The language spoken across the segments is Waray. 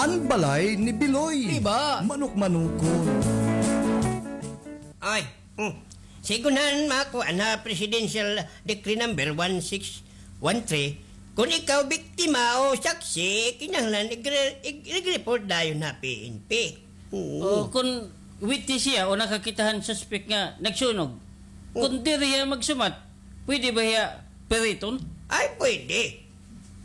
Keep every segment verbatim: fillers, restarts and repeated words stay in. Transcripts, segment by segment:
An balay ni Biloy. Di ba? Manok-manokon. Ay, hmm. Sigunhan makuan ha Presidential Decree number one six one three, kon ikaw biktima o saksi, kinahanglan igre-, ig-, ig-report dayon ha P N P. Oo. O, kon witness hiya o nakakita han suspek nga nagsunog, hmm, kon diri hiya magsumat, pwede ba hiya piriton? Ay, pwede.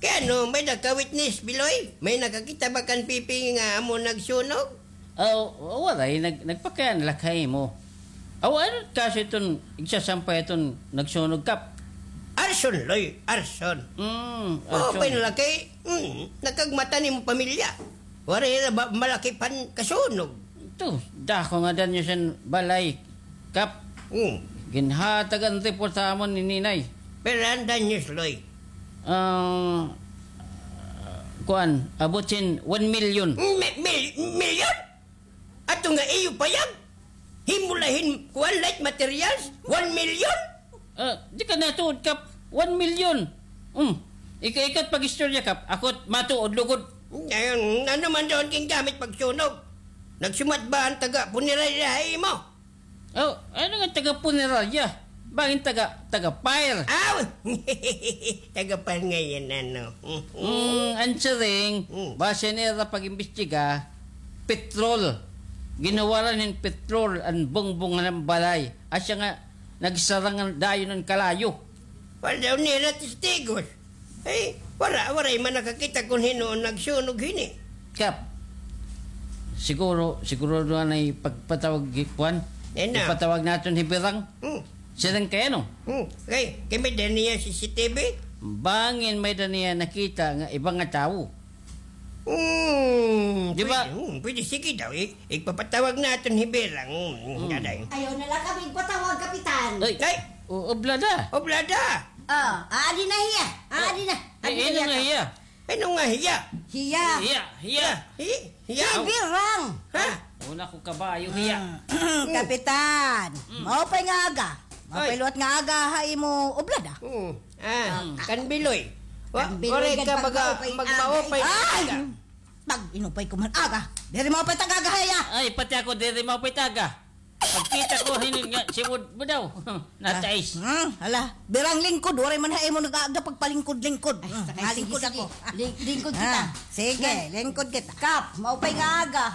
Kay ano, may-ada ka witness, Biloy? May nakakita ba kan Pipi nga amo nagsunog? Aw, waray, nag-, nagpakiana la ha imo. Aw, ano kaso iton igsasampay iton nagsunog, Kap? Arson, Loy, arson. Mm, arson. Maupay na la kay, mm, nakagmata an imo pamilya. Waray na ba malakip han kasunog? Ito, dako nga danyos an balay, Kap. Hmm. Ginhatag an report ha amon ni Ninay. Pira an danyos, Loy? Ah, kuan, abot sin one million. Mi-, mil-, million? Ato nga iyo payag? Himo la hin, kuan, light materials? One million? Ah, di ka natuod, Kap. One million. Hmm. Ika-, ikaw it pag-istorya, Kap. Ako it matuod lugod. Ayun, ano man daw an gingamit pagsunog? Nagsumat ba an taga-punerarya ha imo? Oh, ano nga taga-punerarya? Bangin taga, taga-fire. Aw! Taga-fire ngay-an, ano? Mm, an siring, mm, base nira pag-imbestiga, petrol. Ginhuwaran hin petrol an bungbong han balay. Asya nga, nagsarang dayon an kalayo. Waray daw nira testigos. Ay, wara, waray man nakakita kon hin-o an nagsunog hini. Kap, siguro, siguro duha na ipagpatawag, kuan? Ipatawag naton hi Birang. Hmm. Siring kay ano? Hmm. Kay, kay may-ada niya C C T V? Bangin may-ada niya nakita nga iba nga tawo. Hmm, di ba? Pwede, hmm, pwede. Sige daw, i-, igpapatawag naton hi Birang. Hmm, hmm, daday. Ayaw na la kami igpatawag, Kapitan. Ay, ay! O, oblada. Oblada! Ah, aadi na hiya. Aadi na. Ay, aadi na hiya. Ano nga hiya? Hiya. Hiya, hiya. Hi-, hiya. Hi Birang. Ha? Una ko kabayo hiya. Kapitan, maupay nga aga. Maupay liwat nga aga ha imo oblada. Hmm. Ah, kan Biloy. Wa-, kan Biloy waray ka baga magmaupay nga aga. Pag-inupay ko man aga. Diri maupay it aga ha iya. Ay, pati ako diri maupay it aga. Pagkita ko hinin nga, siwod mo daw. Natais. Hmm, hala. Birang lingkod, waray man ha imo nag-aaga pagpalingkod-lingkod. Ay, lingkod ako. Ling-, lingkod kita. Sige, lingkod kita. Kap, maupay nga aga.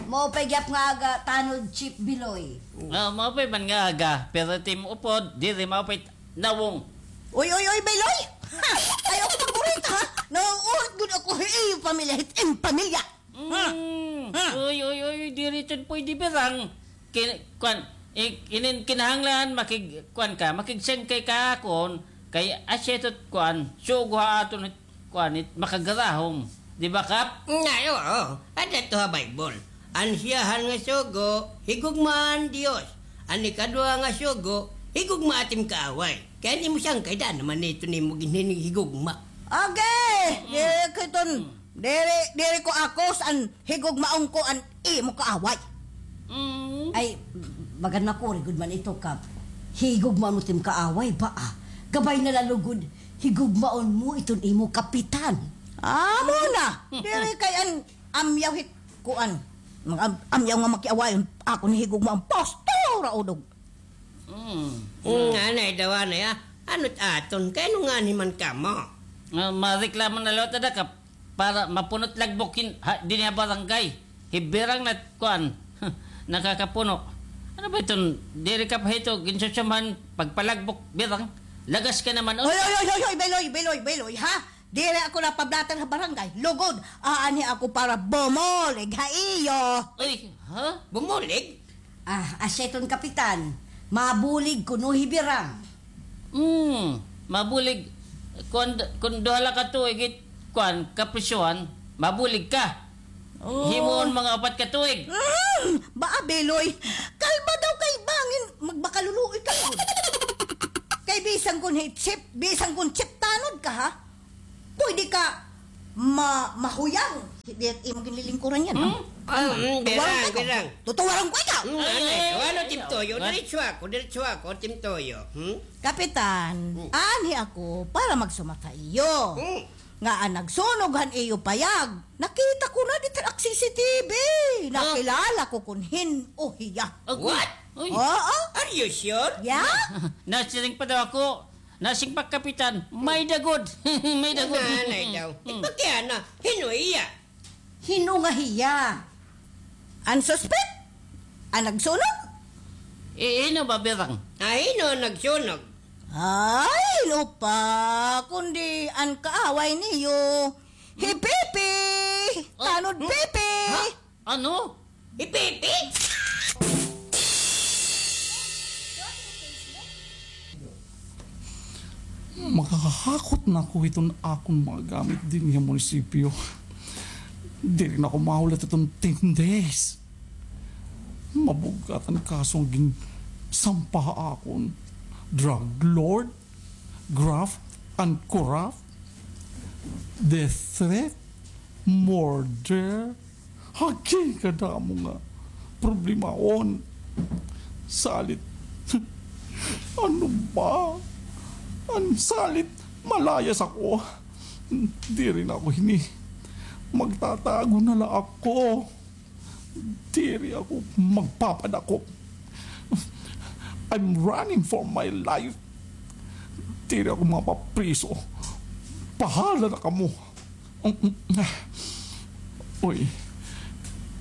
Maupay gyap nga aga, tanod Chief Biloy. Ah, maupay man nga aga, pero tim upod, diri maupay nawong. Uy, uy, uy, Biloy! Ha! Ayaw ko magburita, ha? Nauulit gud ako, hi iyo pamilya, hit im pamilya. Mm. Uy, uy, uy, diri iton pwede, Birang. Kin-, kuan, i-, inin kinahanglan, makig-, kuan ka, makigsingkay ka akon, kay asya ito kuan, sugo ha aton, kuan, it makagarahom. Di ba, Kap? Ay, oo. Ada ito ha Bible. An siyahan nga sugo, higugma an Dios. An ikaduha nga sugo, higugma it im kaaway. Kay an imo sangkay, daan naman ito nimo ginhinhigugma. Agi! Diri ko iton, diri, diri ko akos an higugmaon ko an imo kaaway. Mm. Ay, bagan makuri gud man ito, Kap. Higugmaon mo it im kaaway ba, ah? Gabay na la lugod, higugmaon mo iton imo kapitan. Amo na. Diri kay an amyaw hit kuan. Mag-, am-, amyaw nga makiaway, akon higugmaon, pastor, udog. Mm. Mm, anay daw, anay, ah. Ano't aton? Kay ano ngani man kamo? Ah, mareklamo na liwat ada ka para mapuno't lagbok hin, ha, dinhi ha barangay. Hi Birang na kuan, nakakapuno. Ano ba iton? Diri ka pa hito ginsusumhan pagpalagbok, Birang? Lagas ka naman, oh. Hoy, hoy, hoy, hoy, hoy, Beloy, Beloy, Beloy, ha? Diri ako napablatan ha barangay. Lugod, aanhi ako para bumulig ha iyo. Uy, ha? Bumulig? Ah, asya iton, Kapitan. Mabulig kuno hi Birang. Hmm, mabulig. Kun, kun duha la ka tuig it, kuan, kaprisohan, mabulig ka. Oh. Himuon mga upat ka tuig. Hmm, baa, Beloy? Kalma daw kay bangin magmakaluluoy ka. Kay bisan kun hi Chief, bisan kun Chief Tanod ka, ha? Pwede ka ma-, mahuyang. Di imo ginlilingkuran yan, ha? Hmm? Ah, mm, Birang, Birang. Tutuwaran ko ikaw. Mm, ay, anay. Ay, ano, ay, Team Toyo? Diretso ako, diretso ako, Team Toyo. Hmm? Kapitan, anhi ako para magsumat ha iyo. Hmm. nga an nagsunog han iyo payag, nakita ko na dida ha C C T V. Ah. Nakilala ko kon hin-o hiya. Agoy. What? Uy. Oo. Are you sure? Yeah. Nasiring pa daw ako, nasiring pa kapitan, may-ada gud. May-ada gud. Nanay daw. Hmm. Ipakiana, hin-o hiya? Hin-o nga hiya? An suspek? An nagsunog? Eh, hin-o ba, Birang? Ah, hin-o an nagsunog? Ay, hin-o pa, kundi an kaaway niyo. Hi Pipi! Oh. Tanod Pipi! Ha? Ano? Hi Pipi? Makakahakot na ako hiton akon mga gamit dinhi ha munisipyo. Diri na ako mahulat hiton ten days. Mabug-at an kaso nga ginsampa ha akon. Drug lord, graft and corrupt, death threat, murder. Hagi kadamo nga problemahon. Salit, ano ba? An salit, malayas ako. Diri na ako hini. Magtatago na la ako. Diri ako magpapadakop. I'm running for my life. Diri ako mapapriso. Bahala na kamo. Uy,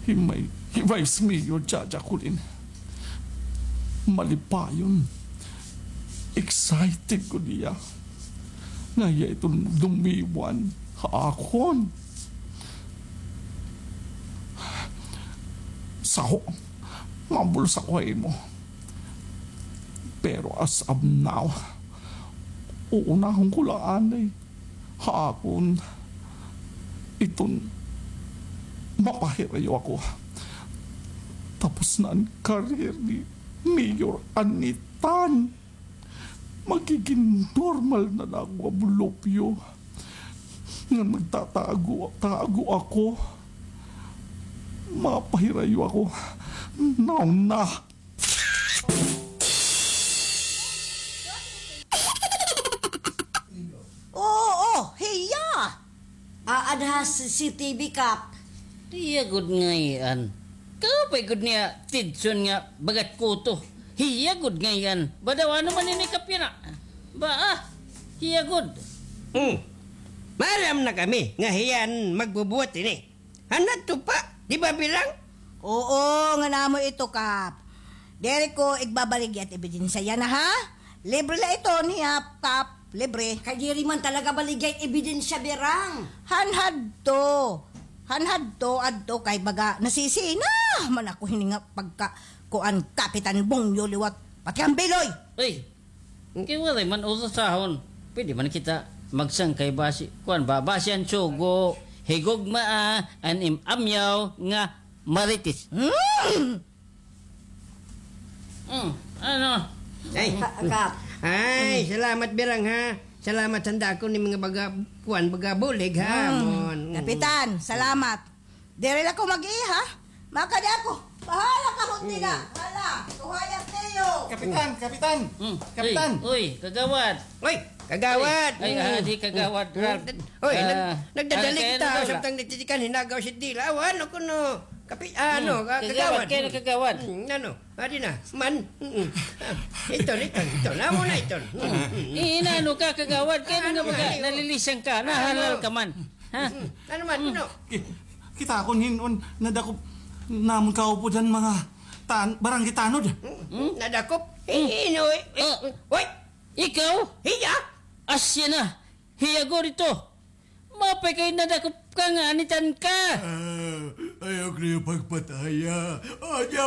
hi may, hi Vice Mayor Jaja Colin. Malipayon. Excited ko niya. Nga hiya iton dumiwan ha akon. Saho, mabulsa ko ha imo. Pero as of now, uunahon ko la anay ha akon iton mapahirayo ako. Tapos na an career ni Mayor Anitan. Magigin normal na la ako nga bulupyo. Ngan magtatago, tago ako. Mapahirayo ako. Now na. Oo, hiya. Aada ha C C T V, Kap. Hiya gud ngay-an. Kaupay gud niya atensyon nga baga kuto. Hiya gud ngay-an. Ba daw ano man ini, Kap, yana? Ba, ah, hiya gud. Hmm. Maaram na kami nga hiya an magbubuhat ini. Han hadto pa, di ba, Birang? Oo, ngan amo ito, Kap. Diri ko igbabaligya it ebidensya yana, ha? Libre la ito niya, Kap. Libre. Kay diri man talaga baligya it ebidensya, Birang. Han hadto. Han hadto, adto kay baga nasisina man ako hini nga pagka kuan, Kapitan Bongyo liwat. Pati an Biloy. Uy, kay waray man urusahon. Pwede man kita magsangkay basi, kuan ba, basi an sugo, higugmaa, ah, an im-, amyaw nga Marites. Mm. Mm, ano? Ay. Ka-, Kap. Ay, salamat, Birang, ha. Salamat han dako nga mga baga, kuan, baga bulig, ha, amon. Mm. Kapitan, salamat. Diri la ko mag-iha. Makadi ako. Bahala ka, Honti na. Hala, tuhayag niyo. Kapitan, Kapitan. Mm. Kapitan. Uy, uy, kagawad. Uy, kagawad. Ay, ah, di kagawad, Ralph. Uy, nag-, nagdadali kita, samtang nagtitikan, hinagaw si Dila. Aw, ano kuno? Kapi-, ah, ano, ka-, kagawad. Kagawad, kay kagawad. Mm, ano? Adi na, man. Mm-mm. Ah, iton, iton, iton. Amo na iton. Mm-mm. Eh, inaano ka, kagawad? Kay ano nga ba ka? Nalilisang ka, nahalal ka man. Ha? Mm-mm. Ano man, ano? Ki-, kita kon hin-on, nadakop namon kaupod han mga tan-, barangay tanod. Mm-mm. Nadakop? Eh, ino, eh, eh, oy! Ikaw? Hiya? Asya na. Hiya gud ito. Maupay kay nadakop ka nga anitan ka. Ah, ayaw ko niyo pagpataya. Ayaw.